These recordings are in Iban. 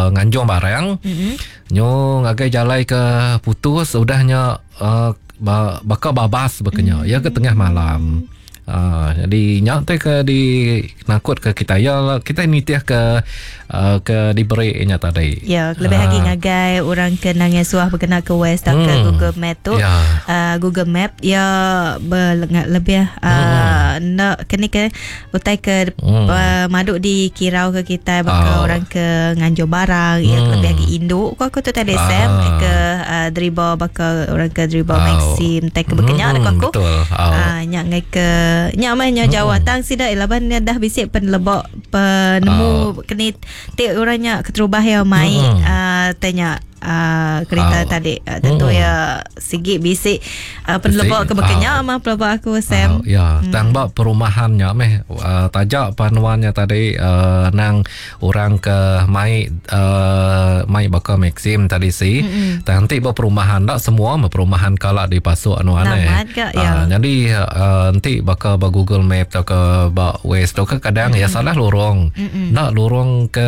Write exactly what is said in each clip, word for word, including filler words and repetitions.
uh, nganjung barang. Mm-hmm. Nyo ngagai jalai ke putus udahnya uh, ba, baka babas bekenya. Mm-hmm. Ya ke tengah malam. Uh, jadi nyak te ke di nakut ke kita ya kita nitih ke uh, ke diberi nya tadi. Ya, lebih lagi Ah. ngagai orang ke nangis suah berkena ke Waze atau ke Hmm. Google Map tu. Ya. Uh, Google Map ya berlengat lebih uh, nak kena ke utai ke Hmm. uh, maduk di kirau ke kita bakal Oh. orang ke nganjur barang ya Hmm. lebih lagi induk ko aku tu tadi Ah. Sam ke uh, driba bakal orang ke driba Oh. Maxim tai ke berkenyak Hmm, hmm, aku. betul. Oh. Ah, nyak ngai ke nyak mah nyak jauh tang sida laban nya dah bisik penelebok penemu Oh. keni ti orangnya keterubah ya mai Hmm. ah, tanya ah, kereta Oh. tadi Ah, tentu Hmm. ya sigi bisik ah, penelebok Bisik. ke berkenyak Oh. mah penelebok aku Sam. Uh, ya, hmm. Tang ba perumahannya meh uh, tajak panuannya tadi uh, nang orang ke mai uh, mai baka Maxim tadi si. Mm-hmm. Tang nanti ba perumahan dak semua mah perumahan kalak dipasuk anu aneh. Namat ke, ya. Uh, jadi uh, nanti baka ba Google Map atau ke ba Waze atau ke kadang mm-hmm. ya salah lorong. Mm-hmm. Nak lorong ke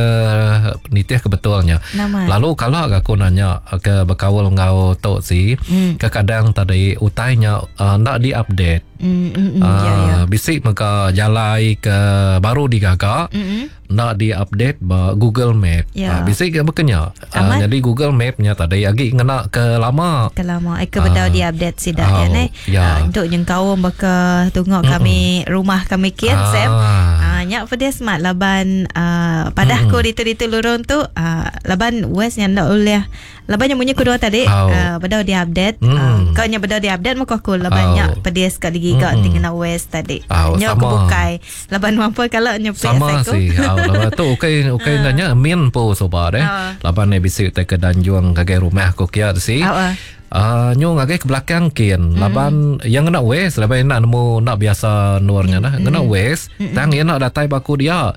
nitih ke betulnya. Namat. Lalu kalau aku nanya ke berkaul ngau tok si, mm. kadang tadi utainya uh, nak diupdate. Hmm, hmm, hmm, ya ya. Ah, bisik maka jalai ke baru digaga Mm-mm. nak diupdate ba Google Map. Ya. Ah, bisik ke berkenya. Ah, Amat. jadi Google Mapnya tadi agi ngena ke lama. Kelama eh ke bedau Ah. di update sida Oh, ya ne. ya. Ah, untuk nyengkaum baka tungok kami rumah kami kian Ah. Sam. Ah nyak pedih smart laban ah, padah ko ditu-ditu lurung tu ah, laban West yang ndak oleh laban yang munyi kedua tadi Oh. ah, bedau di update. Mm. Ah, kau nya bedau di update muka aku laban Oh. nyak pedih sekali giga Mm. tinggal West tadi. Oh, Nyak sama. kebukai laban mampu kalau nyepek Sama sih. Ah, laban tu okey okey nanya min po soba deh. Ah. Laban ni bisik te ke danjuang ngagai rumah aku kia si. Ah, ah. Uh, nyu ngagai ke belakang kin. Laban yang ngena Waze laban nak nemu nak biasa nurnya nah. Ngena Waze tang ia nak datai baku dia.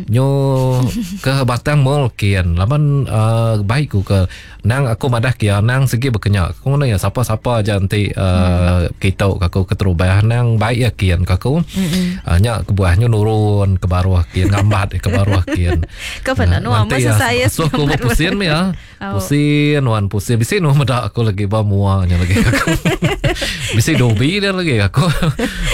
Nyu ke batang mall kin. Laban uh, baik ku ke nang aku madah kia nang segi berkenyak. Aku ngena ya siapa-siapa aja nanti uh, kita aku keterubah nang baik ya kin ke aku. Uh, nyak kebuah nyu nurun ke baruh kin ngambat ke baruh kin. Kau pernah nu Nanti masa ya, saya So aku ngambat pusing ya. Oh. Pusing wan pusing. Bisi nu medak aku lagi ba muanya lagi aku. Bisi dobi dia lagi aku.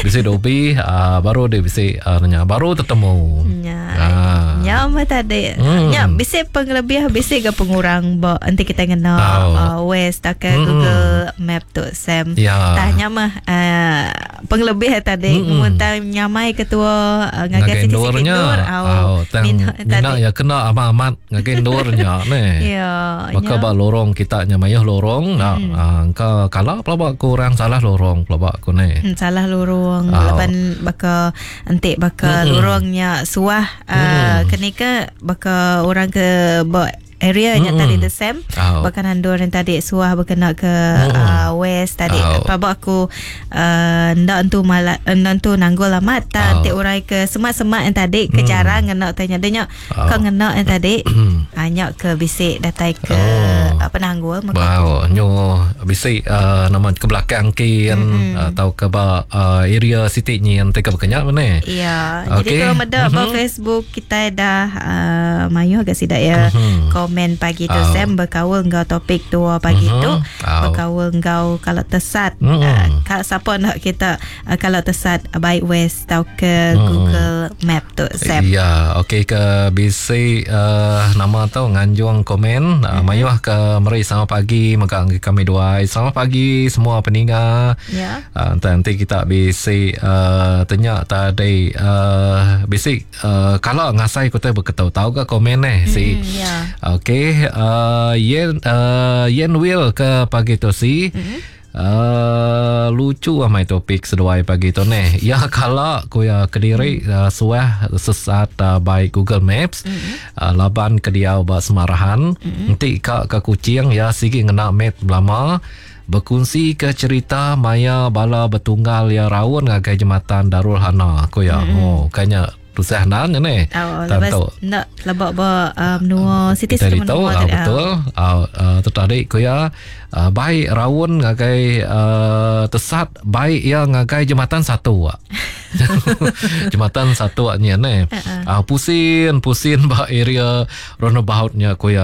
Bisi dobi uh, baru dia bisi uh, nanya baru tertemu. Ya. Ah. Ya mah tadi. Hmm. Ya bisi pengelebih bisi ke pengurang bo nanti kita kena Oh. uh, Waze tak ke Mm-mm. Google Map tu Sam. Ya. Tanya mah uh, pengelebih tadi Mm-mm. mun tang nyamai ketua uh, ngagai Ngagai siti-siti ndurnya. nur au. Au, tang Mina mina tadi. ya kena amat-amat ngagai ndurnya ne. Ya. Maka nya. ba lorong kita nya mayuh lorong nak Hmm. ah, engkau kalau pelabak ku orang salah lorong pelabak ku ne. Hmm, salah lorong Oh. laban baka entik baka Mm-mm. lorongnya suah uh, kenika baka orang ke ba area nya Mm-mm. tadi the same Oh. baka nandur yang tadi suah berkena ke Mm-mm. uh, west tadi Oh. oh. aku uh, ndak entu mala ndak entu nanggul amat ta Oh. entik urai ke semak-semak yang tadi ke Mm. jarang ngena tanya dia nya Oh. kau ngena yang tadi hanya ke bisik datai ke Oh. apa nanggul maka Wow, nyo bisi uh, nama ke belakang kin mm-hmm. atau ke ba uh, area city ni yang teka berkenyak mana? Ya, jadi Okey. kalau meda mm-hmm. Mhm. Facebook kita dah uh, mayu agak sidak ya Mhm. komen pagi tu Oh. Sam berkaul enggau topik dua pagi Mhm. tu Oh. berkaul enggau kalau tesat Mhm. uh, kalau siapa nak kita uh, kalau tesat uh, baik Waze atau ke Mhm. Google Map tu Sam. Ya, okey ke bisi uh, nama tu nganjung komen uh, Mhm. mayuh ke meri selamat pagi mega anggi kami dua. Selamat pagi semua peninga. Ya. Uh, nanti kita bisi uh, tanya tadi uh, bisi uh, kalau ngasai kota berketau tahu ke komen eh si. Hmm, ya. Okey, uh, Yen uh, Yen Will ke pagi tu si. Mm-hmm. Uh, lucu amai topik seduai pagi tu ni. Ya kala ku ya kediri mm. uh, suah sesat uh, by Google Maps. Mm-hmm. Uh, laban ke diau ba Semarahan. Mm-hmm. Nanti ka ke Kuching ya sigi ngena map lama berkongsi ke cerita maya bala betunggal ya raun ngagai jematan Darul Hana ku ya. Mm-hmm. Oh, kayaknya tusah nan ni. Oh, lepas Tentu. nak lebak ba uh, menua siti Kita siti itu menua ah, tadi. betul ah, ah, tertarik ku ya ah, baik raun ngagai ah, tesat baik ya ngagai jembatan satu ah. Jembatan satu ah, ni ne. Ah, pusin pusin ba area roundaboutnya ku ya.